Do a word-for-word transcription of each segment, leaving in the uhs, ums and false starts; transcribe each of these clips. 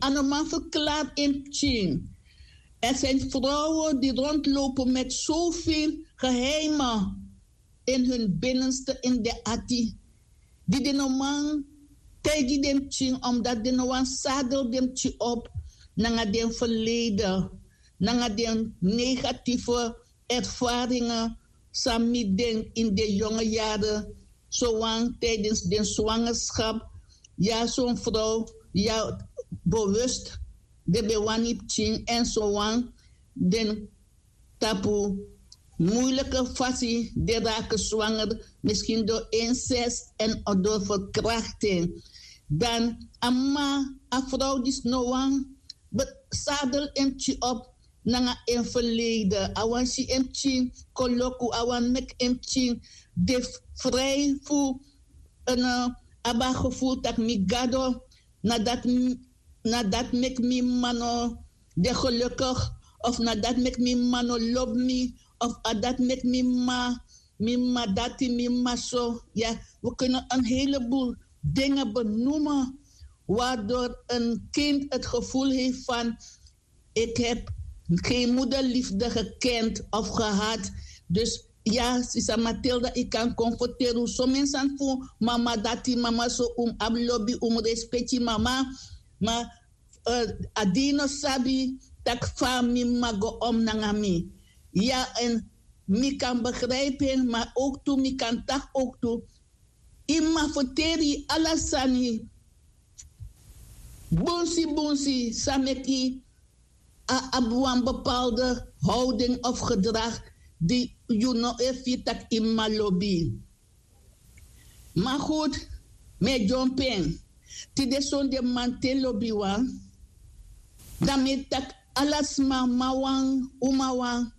A no man verklaart in pikin. Er zijn vrouwen die rondlopen met zoveel geheimen in hun binnenste, in de ati, die de no man taigi den pikin, omdat den no wan sadel den pikin op nanga den verleden, nanga den negatieve ervaringen san mi den in de jonge jaren, zowan tijdens den zwangerschap, ya son vrouw ya bewust de ben wani pikin en zowan den tapu moeilijke fasi de raken zwanger, misschien door incest en door verkrachting. Dan a mama, a vrouw disi no wan sadel en pikin op nanga en verleden. A wan si en pikin koloku, a wan meki en pikin de vrij fu en, eh, abi a gevoel tak' mi gado, na dati m- na dati meki mi mama no de gelukkig, of na dati meki mi mama no lobi mi, of a dati meki mi mama, mi mama dati, mi mama so. Ya, we kunnen een heleboel dingen benoemen waardoor een kind het gevoel heeft van: ik heb geen moederliefde gekend of gehad. Dus ya, sisa Matilda, yu kan konfronteri un somen sani fu mama dati, mama so, un abi lobi, un respecti mama. Ma, eh, a di yu no sabi tak' fa mi mama go om nanga mi. Ya, en mi kan begrijpen, maar ook tu mi kan taki ook tu yu mama ferteri yu ala sani bunsi bunsi san meki a abi wan bepaalde houding of gedrag di yu no e firi tak' yu mama lobi. Ma goed, mi e dyompu en. Tide sonde man te lobiwan, dan mi e taki ala sma, mawan, umawan,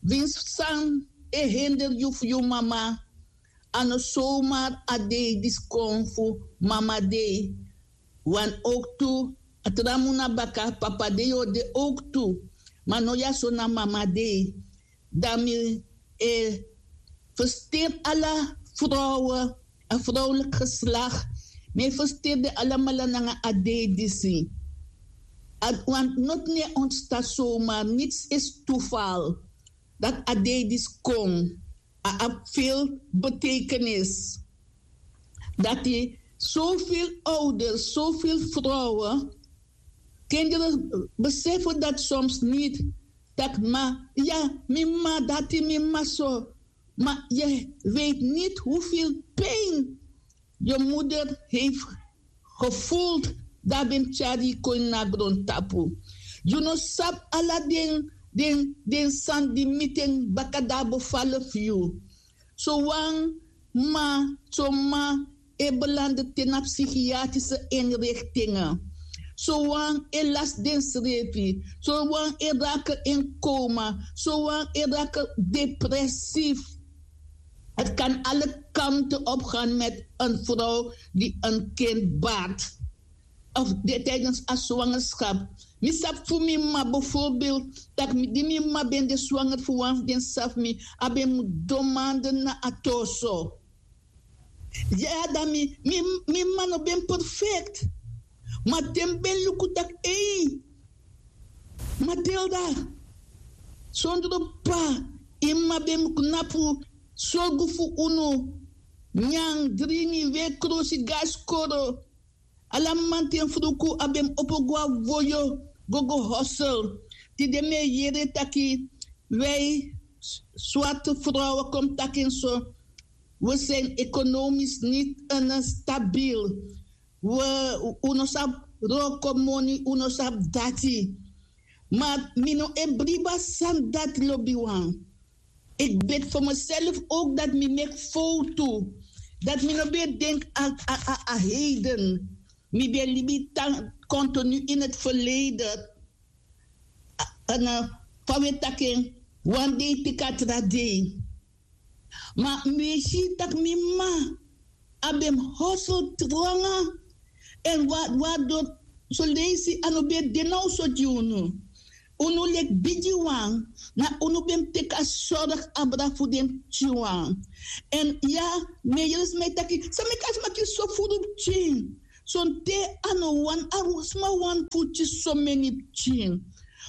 winsi san e hender yu fu yu mama, a no somar a dei disi kon fu Mama Dei. Wan ook tu, a tra mun na baka, Papa Dei o de ook tu. Ma no ya so na Mama Dei. Dan mi e fersteri ala vrouwen, a vrouwelijk geslacht. Mi e fersteri den alamala nanga a dei disi. A, want noti no e ontstan somar, niets is toeval. Dati a dei disi kon, a abi veel betekenis. Dati zoveel ouders, zoveel vrouwen, kinderen beseffen dat soms niet. Tak' ma, ya, mi mama dati, mi mama so. Maar je weet niet hoeveel pijn je moeder heeft gevoeld, dan ben tyari kon na grondtapu. You know, sap ala den, den, den san di miten baka da bevallen fu you. Sowan ma, so ma e belanden te na psychiatrische inrichtingen. Sowan e lasi densrefi. Sowan e raken in coma. Sowan e raken depressief. Het kan alle kanten op gaan met een vrouw die een kind baart. Of de, tijdens a zwangerschap. Mi sabi fu mi ma bijvoorbeeld, dat mi, di mi ma ben de zwanger fu wan fu den sisa fu mi, a ben mu don maanden na a torso. Ya, dan mi, mi, mi ma no ben perfect. Ma te mi ben luku tak' ei, Matilda, sondro pa, yu ma ben mu knapu, sorgu fu unu, nyan, dringi, weri krosi, go na skoro. Ala mamanten fruku a ben mu opo go na woyo, go go hosel. Tide mi e yere taki, wij zwarte vrouwen, kon taki en so, we zijn economisch niet, eh, stabiel. We, un no sabi wroko moni, un no sabi dati. Ma mi no e bribi a sani dati, lobiwan. Ik bid voor mezelf ook dat mi meki fowtu. Dat mi no ben e denki a, a, a, a heden. Mi ben e libi tan continu in het verleden. A, a, na fa wi e taki en, wan dei teki a tra dei. Ma mi e si tak' mi ma a ben hosel tranga. En wa, waardoor soleisi a no ben e de na un so gi unu. Unu leki bigiwan, na unu ben mu teki a sorg abra fu den pikinwan. En ya, mi e yere sma e taki, san meki a sma kisi so furu pikin? Sonten a no wani a sma wani fu kisi someni pikin.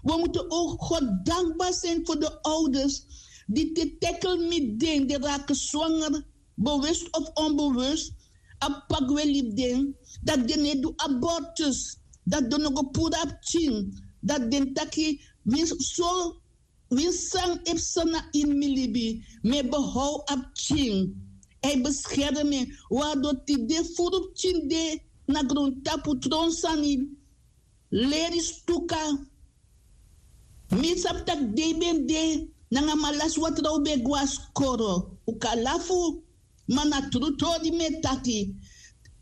We mutu o god dankbar sin fu de ouders di te tekel mi den de raki swanger, bewust of onbewust, a pagwe libi den, dati den no e du abortus, dati den no go puru a pikin, dati den taki winsi so winsi san e psa na ini mi libi, mi e behow a pikin. A e beskermi en. Wan a doti de furu pikin de na grontapu tron sani. Leri stuka. Mi sabi tak' dei ben de nanga malasi watra un ben gwe na skoro. Un kan lafu, ma na tru tori mi e taki.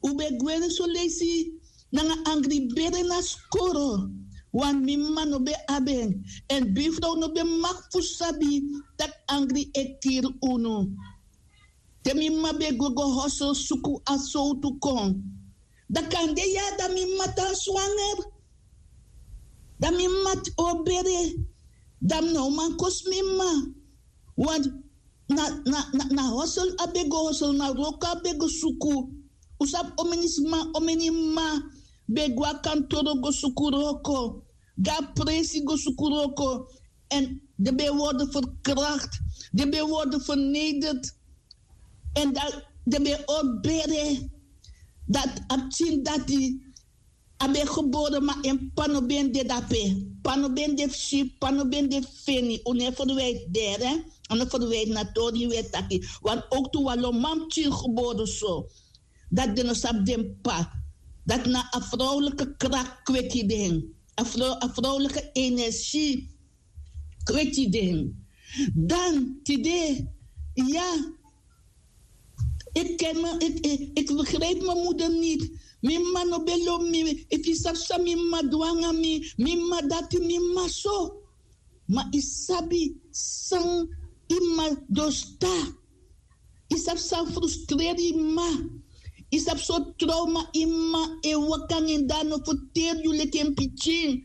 Un ben gwe soleisi nanga angri bere na skoro. Wan mi m'ma no ben abi en. Èn bifrow no ben maki fu sabi tak' angri e kiri unu. Te mi m'ma ben gwe go hosel suku a sowtu kon, dan kande ya dan mi m'ma tan swanger. Dan mi m'ma o bere. Dan mi no man kosi mi m'ma. Want na na na na hosel a ben go hosel na wroko a ben go suku. Un sabi omeni sma, omeni m'ma ben gwe na kantoro go suku wroko, go na presi go suku wroko. Èn den ben worden verkracht, den ben worden vernederd. Èn dan den ben o bere. Dati a pikin dati a ben gebore ma en p'pa no ben de dape. P'pa no ben de fu si, p'pa no ben de fu feni. Un no e ferwiti dere, a no ferwiti na tori yu e taki. Wan owktu wan lo man pikin gebore so, dati den no sabi den p'pa. Dati na a vrouwlike krak kweki den. A vrouwlike energie kweki den. Dan tide, ya, ik ken me ik ik ik begrijp me moeder nit. Mi m'ma no ben lobi mi. Efu yu sabi san mi m'ma du nanga mi, mi m'ma dati, mi m'ma so. Ma yu sabi san yu m'ma dosta? Yu sabi san frustreri yu m'ma? Yu sabi sortu trauma yu m'ma e waka nanga en dan a no ferteri yu leki en pikin?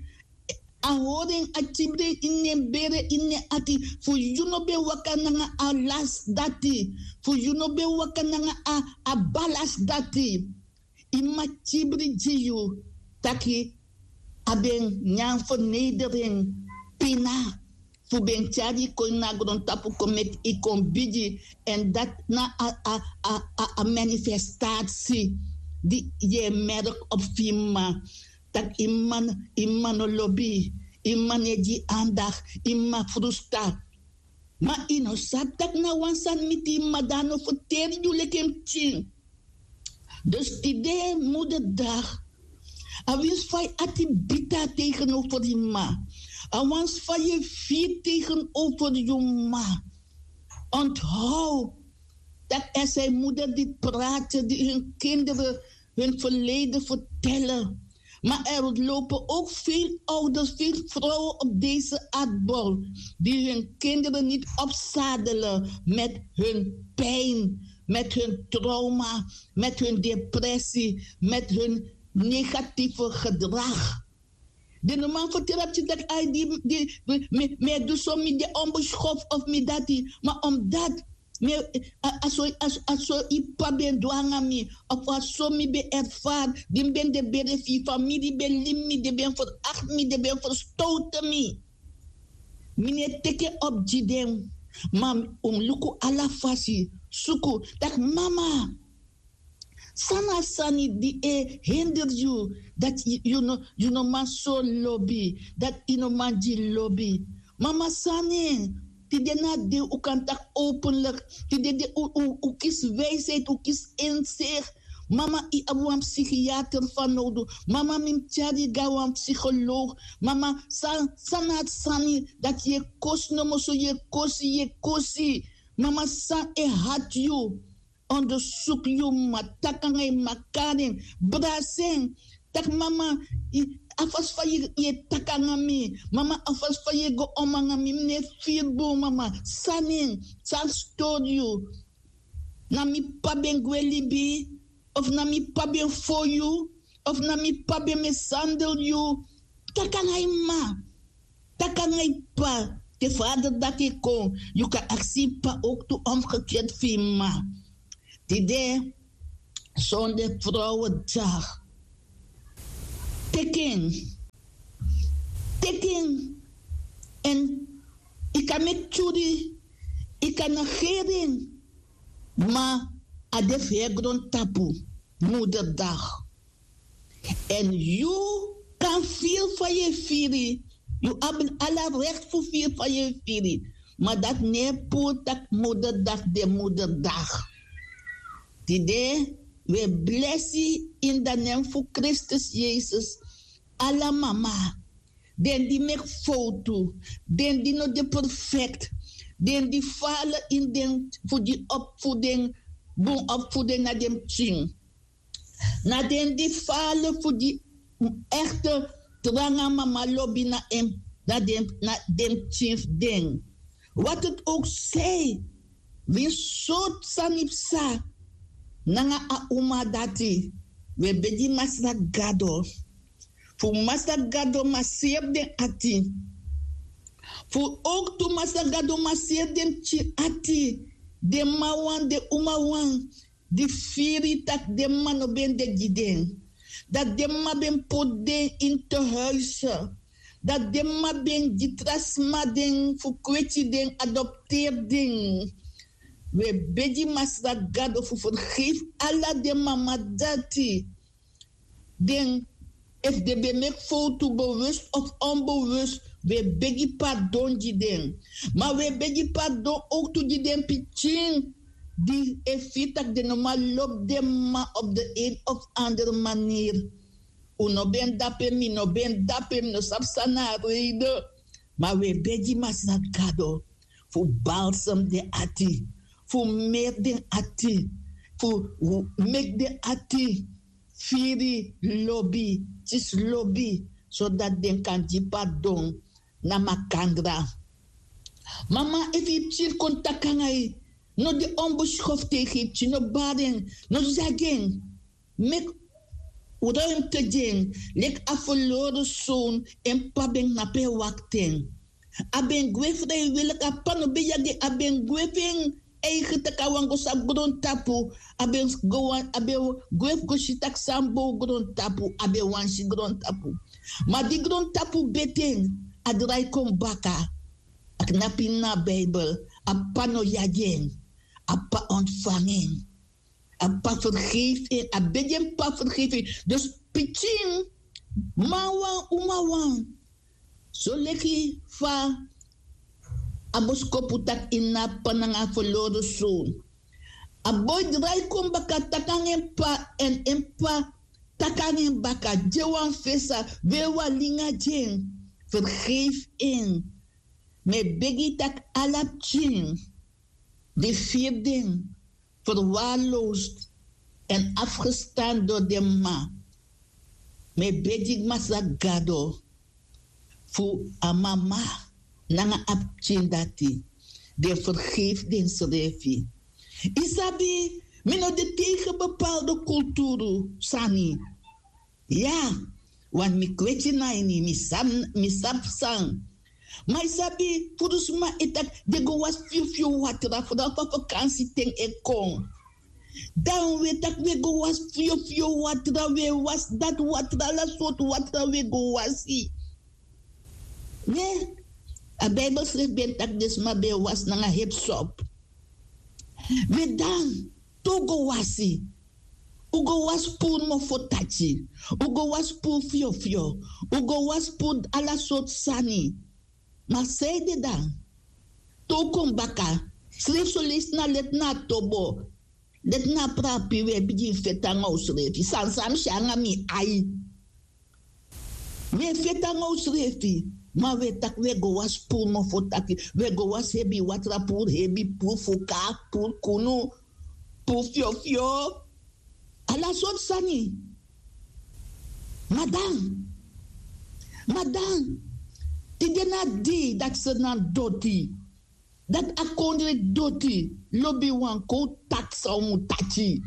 A hori en, a kibri en ini en bere, ini en ati. Fu yu no ben waka nanga a lasi dati. Fu yu no ben waka nanga a a balasi dati. Yu m'ma kibri gi yu taki a ben nyan fernedering, pina, fu ben tyari yu kon ini a grontapu kon meki yu kon bigi. Èn dati na a a a a manifestasi di yu e merk op fu yu m'ma. Tak' yu m'ma no lobi yu, yu m'ma no e gi yu andak, yu m'ma frustra. Ma yu no sabi tak' na wan sani miti yu m'ma dan a no ferteri yu leki en pikin. Dus tide moderdag, a winsi fa yu ati bita tegenover yu m'ma, a winsi fa yu e firi tegenover yu m'ma. Onthoud dat er zijn moeder die praten, die hun kinderen hun verleden vertellen. Maar er lopen ook veel ouders, veel vrouwen op deze aardbol die hun kinderen niet opzadelen met hun pijn, met hun trauma, met hun depressie, met hun negatieve gedrag. Den no man ferteri a pikin taki ai di mi e du so, mi de onbeschoft of mi dati. Ma omdat mi a so yu p'pa ben du nanga mi, of a so mi ben erfari di mi ben de bere fu yu famiri ben limi mi, den ben ferakti mi, den ben ferstowte mi. Mi no e teki en op gi den. Ma un mus luku ala fasi, suku taki mama, san na a sani di e hinder yu dati yu no man so lobi, dati yu no man gi lobi? Mama, san na en? Tide na a dei un kan taki openlik. Tide un kisi wijsheid, un kisi inzicht. Mama, yu abi wan psichiater fanowdu. Mama, mi mus tyari yu go na wan psycholoog. Mama, san na a sani dati yu e kosi nomo so, yu e kosi, yu e kosi? Mama, san e hati yu? Ondersuku yu m'ma, taki nanga yu m'ma, kari en, brasi en. Taki mama, a fasi fa yu e taki nanga mi, mama, a fasi fa yu e go om nanga mi, mi no e firi bun. Mama, san na en? San stori yu? Na mi p'pa ben gwe libi? Of na mi p'pa ben fon yu? Of na mi p'pa ben mishandel yu? Taki nanga yu m'ma. Taki nanga yu p'pa. Te vader dati e kon, yu kan aksi yu p'pa ook tu omgekeerd fu yu m'ma. Tide, sonde vrouwendag, Teki en. Teki en. Èn yu kan meki tyuri, yu kan negeri en. Ma a de fu heri grontapu, moderdag. Èn yu kan firi fa yu e firi. Yu abi ala rekti fu firi fa yu e firi. Ma dati no e puru tak' moderdag de moderdag. Tide wi e blesi ini a nen fu Kristus Yesus. Ala mama, den di meki fowtu, den di no de perfekti, den di fala ini den fu di op fu den bun op fu den na den pikin. Na den di fala fu di ekte tranga mama lobi na en, na den na den pikin fu den. Wat het ook zij, winsi sortu sani psa nanga a uma dati, wi e begi Masra Gado fu Masra Gado maseri den ati. Fu ook tu Masra Gado maseri den pikin ati, den mama wan, den uma wan, di firi tak' den mama no ben de gi den. Dati den mama ben poti den ini tehuizen. Dati den mama ben gi tra sma den fu kweti den, adopteri den. Wi e begi Masra Gado fu fergefi ala den mama dati. Den, efu den ben meki fowtu, bewust of onbewust, wi e begi pardon gi den. Ma wi e begi pardon ook tu gi den pikin di e firi tak' den no man lobi den mama op de een of andere manier. Un no ben dape, mi no ben dape, mi no sabi san na a reden. Ma wi e begi Masra Gado fu balsem den ati, fu meri den ati, fu meki den ati firi lobi, kisi lobi, sodati den kan gi pardon na makandra. Mama, efu yu pikin kon taki nanga yu, no de onbeschoft tegen yu pikin, no bari en, no zagi en. Meki ruimte gi en, leki a verloren zoon, en p'pa ben knapu e wakti en. A ben gwe vrijwillig, a p'pa no ben yagi en, a ben gwe fu en eigen taki a wani go sabi grontapu. A ben go wan, a ben gwe fu go si tak' san bow grontapu, a ben wani si grontapu. Ma di grontapu beti en, a drai kon baka. A knapu ini a Bijbel, a p'pa no yagi en, a p'pa ontvangi en. A p'pa fergefi en, a begi en p'pa fergefi en. Dus pikin, man wan, uma wan, soleki fa a boskopu taki ini a p'pa nanga a verloren zoon. A boi drai kon baka, taki nanga en p'pa, èn en p'pa taki nanga en baka, gi en wan fesa, weri wan linga gi en, fergefi en. Mi e begi tak' ala pikin di firi den verwaarloosd en afgestan dori den mama, mi e begi Masra Gado fu a mama nanga a pikin dati, den fergefi densrefi. Yu sabi, mi no de tegen bepaalde kulturu sani. Ya, want mi kweti na ini, mi sabi, mi sabi san. Ma yu sabi, furu sma e taki den go wasi fiofio watra, fu dan fa vakansi ten e kon. Dan wi e taki wi e go wasi fiofio watra, wi e wasi dati watra, ala sortu watra wi e go wasi. Ne, a Bijbel srefi ben taki den sma ben e wasi nanga hipsop. We dan, te un go wasi, un go wasi puru mofo taki, un go wasi puru fiofio, un go wasi puru ala sortu sani. Ma san ede dan? Te un kon baka, srefi son leisi na leti na a tobo, leti na a prapi, we bigin feti nanga unsrefi, sani san mi si nanga mi ai. We feti nanga unsrefi, ma we taki we go wasi puru mofo taki, we go wasi hebi watra, puru hebi, puru fuka, puru kunu, puru fiofio, ala sortu sani. Ma dan, ma dan, tide na a dei dati Sranan doti. Dati a kondre doti, lobiwan, kon un taki san un mu taki.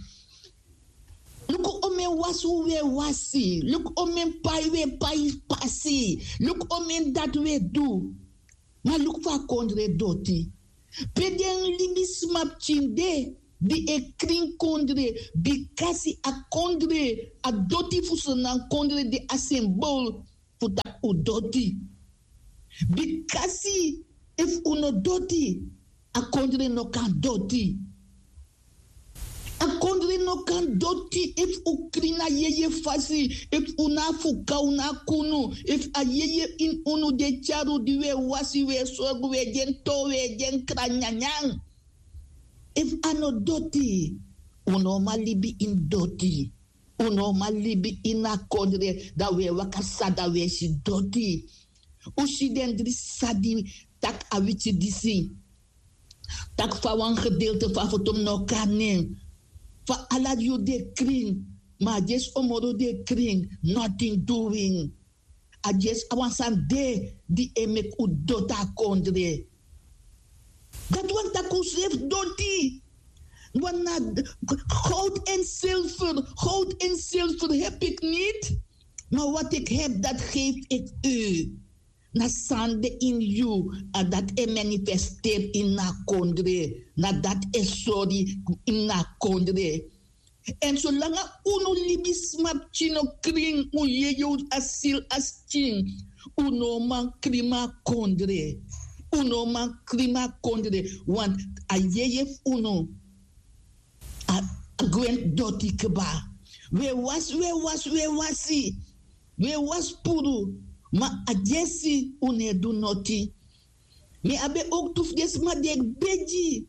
Luku omeni wasi un we wasi, luku omeni pai we pai pasi, luku omeni dati we du. Ma luku fa a kondre doti. Pe den libisma pikin de, di e krin kondre, bikasi a kondre, a doti fu srnan kondre de a symbool fu taki un doti. Bikasi efu un no doti, a kondre no kan doti. A kondre no kan doti efu un krin na yeye fasi, efu un na a fuka, un na a kunu, efu a yeye ini unu di e tyari un, di un e wasi, un e sorgu, un e gi en to, un e gi en kra nyanyan. Efu a no doti, un no man libi ini doti. Un no man libi ini a kondre, dan un e waka sani, dan un e si doti. Un si den dri sani di taki a wityi disi. Taki fa wan gedeelte fu a foto mi no kan nen. Fa ala yuru den e krin, ma a dyesi omoro den e krin, nothing doing. A dyesi a wan sani de di e meki un doti a kondre. Dati wani taki unsrefi doti. Wan na goud en zilver, goud en zilver heb ik niet, maar wat ik heb, dat geef ik u. Na san de ini yu, a dati e manifesteri ini a kondre. Na dati e sori ini a kondre. Èn solanga unu libisma pikin no krin, un yeye, un asili a skin, un no man krin a kondre. Un no man krin a kondre. Want a yeye fu unu, a, a gwe ini doti kba. Un e wasi, un e wasi, un e wasi. Un e wasi puru, ma a dyesi un no e du noti. Mi abi en owktu fu den sma di e begi.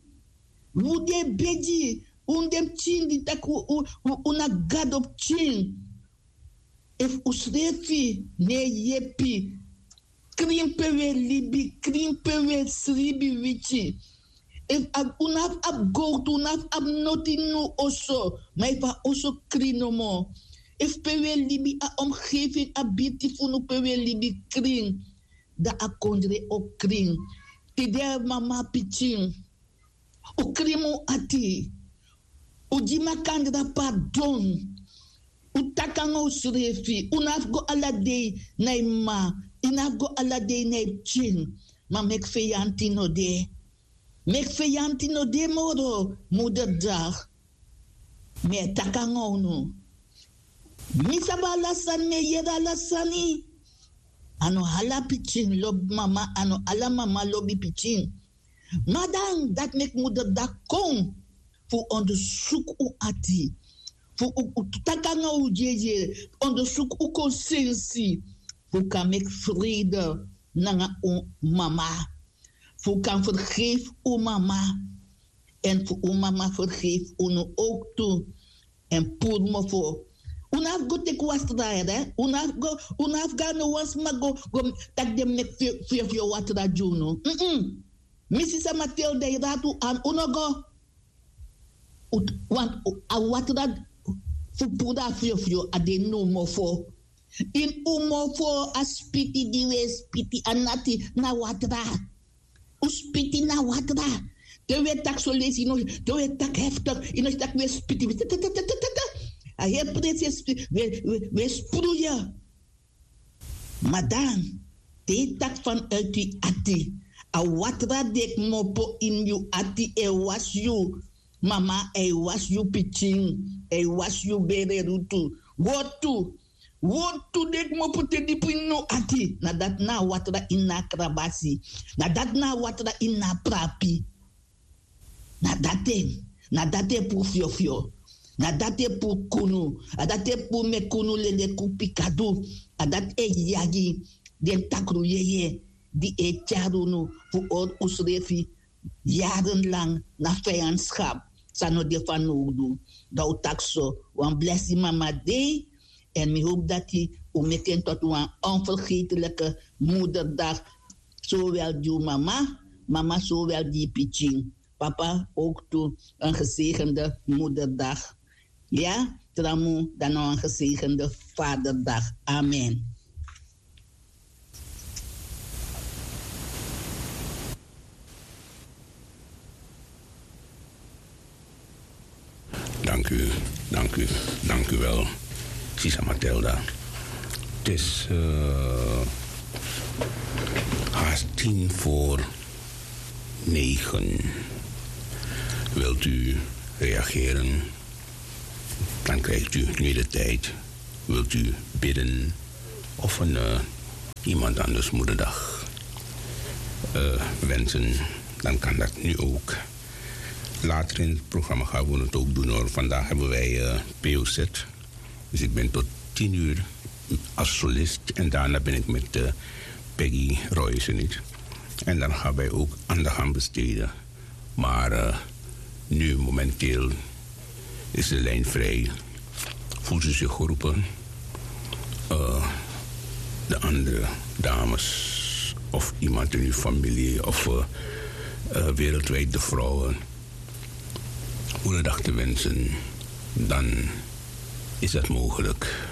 Un di e begi, un den pikin di taki un, un, un na gado pikin. Efu unsrefi no e yepi, krin pe un e libi, krin pe un e sribi wiki. Efu a, un no abi abi gowtu, un no abi abi noti ini un oso, ma efu a oso krin nomo. Efu pe un e libi, a omgeving, a birti fu unu pe un e libi krin, dan a kondre o krin. Tide mama pikin, un krin un ati. Un gi makandra pardon. Un taki nanga unsrefi. Un no abi fu go ala dei na yu mama. Yu no abi fu go ala dei na yu pikin. Ma meki feyanti no de. Meki feyanti no de moro, moederdag. Mi e taki nanga unu. Mi sabi ala sani, mi e yere ala sani. A no ala pikin lobi mama, a no ala mama lobi pikin. Ma dan, dati meki moederdag kon fu ondersuku un ati. Fu un, un taki nanga un yeye, ondersuku un konsensi. Fu un kan meki vrede nanga un mama. Fu un kan vergefi un mama. Èn fu un mama vergefi unu owktu. Èn puru mofo. Un no abi fu go teki watra, hè? Un no abi fu go, un no abi fu go na wan sma go, go taki den meki fio, fio, fio watra gi unu. Mm-mm. Mi sisa Matilda, yu dati un an, un no go. Un, want a watra fu puru a fio, fio, a de ini un mofo. Ini un mofo, a spiti di un e spiti, a nati na watra. Un spiti na watra. Te un e taki son leisi, no, te un e taki heftig, yu no taki un e spiti. A heri presi e spi-, un e, un e, un e spruye. Ma dan, te yu taki vanuit yu ati, a watra di e kmopo ini yu ati e wasi yu. Mama, a e wasi yu pikin, a e wasi yu bere rutu. Wortu, wortu di e kmopo te dipi ini un ati. Na dati na a watra ini a krabasi. Na dati na a watra ini a prapi. Na dati, na dati e puru fiofio. Na dati e puru kunu. A dati e puru meki unu leleki un pikadu. A dati e yagi den takru yeye di e tyari unu fu hori unsrefi yarenlang na vijandschap san no de fanowdu. Dan un taki so, wan blesi mama dei. Èn mi howpu dati un meki en tot wan onvergetelijke moederdag. Zowel gi un mama, mama zowel gi yu pikin. Papa, ook toe een gezegende moederdag. Ya, tra mu, dan nog een gezegende vaderdag. Amen. Dank u, dank u, dank u wel, Sisa Mathilda. Het is eh, haast tien voor negen. Wilt u reageren, dan krijgt u nu de tijd. Wilt u bidden of een, eh, iemand anders moederdag, eh, wensen, dan kan dat nu ook. Later in het programma gaan we het ook doen, hoor. Vandaag hebben wij, eh, P O Z. Dus ik ben tot tien uur als solist en daarna ben ik met, eh, Peggy Royce niet. En dan gaan wij ook aandacht aan besteden. Maar, eh, nu momenteel is de lijn vrij. Voelt u zich geroepen? Eh, de andere dames of iemand in uw familie of, eh, eh, wereldwijd de vrouwen, goedendag te wensen, dan is dat mogelijk.